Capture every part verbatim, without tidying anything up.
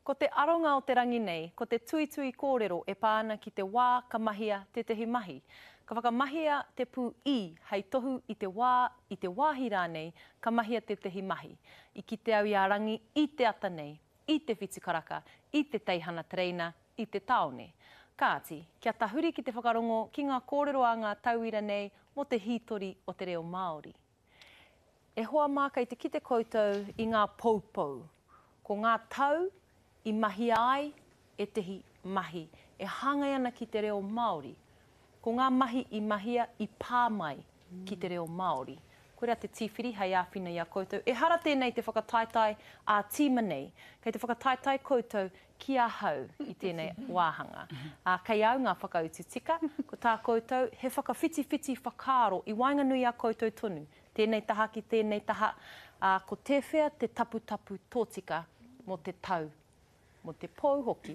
Ko te aronga o te rangi nei, ko te tuitui kōrero e pā ana ki te wā ka mahia tētehi mahi. Ka whakamahia te pū i hei tohu i te wā, i te wāhi rānei, ka mahia tētehi mahi. I kite au i a Rangi i te ata nei, i te whitu karaka, i te teihana tereina, i te tāone. Kāti, kia tahuri ki te whakarongo ki ngā kōrero a ngā tauira nei mō te hītori o te reo Māori. E hoa mā kei te kite koutou i ngā poupou. Ko ngā tau i mahia ai ētehi mahi e hāngai ana ki te reo Māori. Ko ngā mahi i mahia i pā mai ki te reo Māori. Koirā te tīwhiri hei āwhina i a koutou. Ehara tēnei te whakataetae ā-tīma nei. Kei te whakataetae koutou ki ahau i tēnei wāhanga. Ā, kei au ngā whakautu tika. Ko tā koutou, he whakawhitiwhiti whakaaro i waenganui i a koutou tonu. Tēnei taha ki tēnei taha. Ā, ko tēwhea te taputapu tōtika mō te tau, mō te pou hoki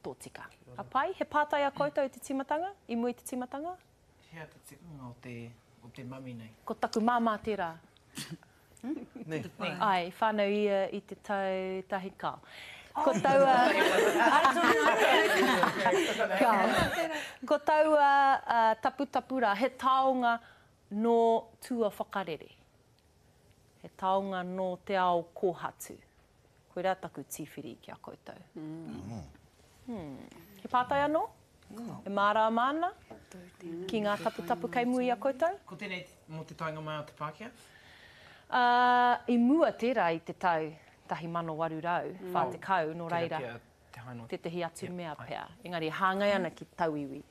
tōtika. Ka pai? He pātai a koutou i te tīmatanga? I mua i te tīmatanga? Hea te tikanga o te, o te mami nei? Ko taku māmā tērā. Nē. Āe, i whānau ia i te tau tahi, kāo. Ko taua... Kāo. Ko taua uh, taputapu rā, he taonga nō tua whakarere. He taonga nō te ao kōhatu. Koirā taku tīwhiri ki a koutou. Mm. Hmm. He pātai anō? E mārāma ana ki ngā taputapu kei mua i a koutou? Ko tēnei mō te taenga mai o te Pākehā? Uh, i mua tērā i te tau tahi mano waru rau, whā tekau, nō reira, tētehi atu mea pea. Engari, hāngai ana ki tauiwi.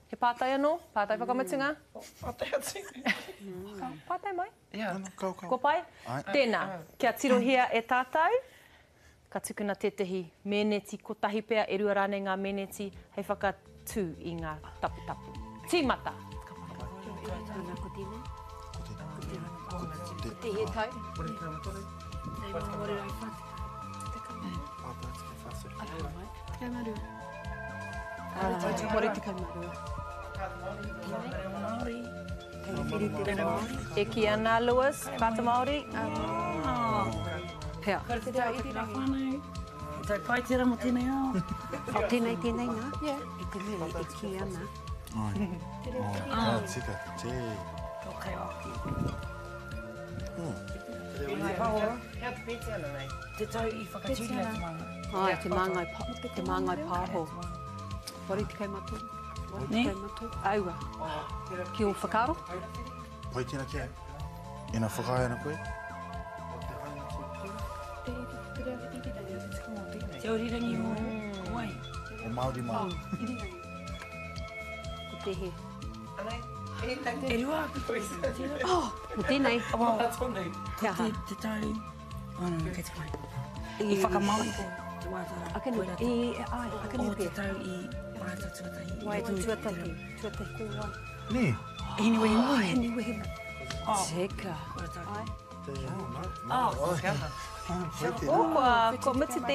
He pātai anō? Pātai whakamutunga? Pātai atu. Pātai mai? Yeah. Kua pai? Tēnā, kia tirohia e tātou. Ka tukuna tētehi mēneti kotahi pea, e rua rānei ngā mēneti hei whakatū i ngā taputapu. Tīmata! Ko tēnei? Ko tēnei. Ko tēhea tau? E kī ana Lewis, Whakaata Māori. Pea. Ko te tau irirangi. He tau pai tērā mō tēnei ao. Oh, tēnei, tēnei nā. Yeah. I te mea e kī ana. Ai. Ka tika, tē. Ko kai waki. Hea te pētiana nei? Te tau i whakatūria te Māngai. Ai, te Māngai, te Māngai Pāho. Waru tekau mā toru. Waru tekau mā toru. Aua. Ki ō whakaaro? Pai tēnā ki au. Ina whakaae ana koe? Te orirangi o wai? O Māori mā. Ko tēhea? E rua aku. Oh, ko tēnei. Te aha? Te tau. Oh, no, kei te pai. I whakamāori te wātara. Akene, i, ai, akene O te tau i waiata tuatahi. Waiata tuatahi. Tuatahi ko wai. Nē. Hine wehi Oh, hine wehi. Tika. Ai. Oh, Oh, kua, kua mutu te